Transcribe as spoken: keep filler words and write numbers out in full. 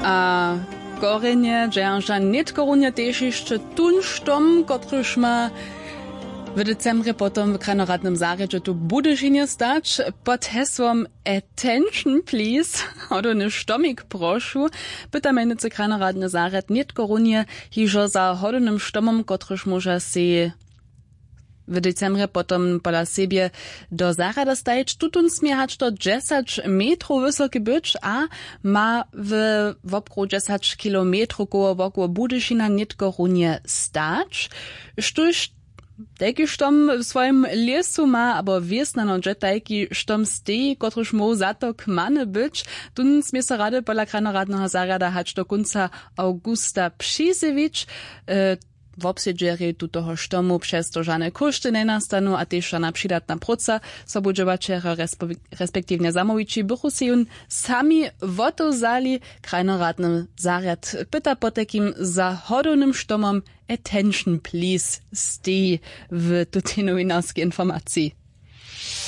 A korjenje dźerža nětko runje tež hišće tón štom, kotryž ma w decembrje potom w krajnoradnym zarjedźe tu w Budyšinje stać pod hesłom Attention please, hodowny štomik prošu. Pyta mjenujcy krajnoradny zarjad nětko runje hižo za hodownym štomom, kotryž móža sej w decembrje potom pola sebje do zarjada stajić. Tutón smě hač do dźesać metrow wysoki być a ma w wobkruhu dźesać kilometrow koło wokoło Budyšina nětko runje stać. Štóž tajki štom w swojim lěsu ma abo wěsnjano dźe tajki štom steji, kotryž móhł za to kmany być, tón smě so rady pola krajnoradneho zarjada hač do kónca awgusta přizjewić. Wobsedźerjej tutoho štomu přez to žane kóšty njenastanu a tež žana přidatna próca. Sobudźěłaćerjo respektiwnje zamołwići bychu sej jón sami wotewzali. Krajnoradny zarjad pyta potajkim za hodownym štomom Attention please steji w tutej nowinarskej informaciji.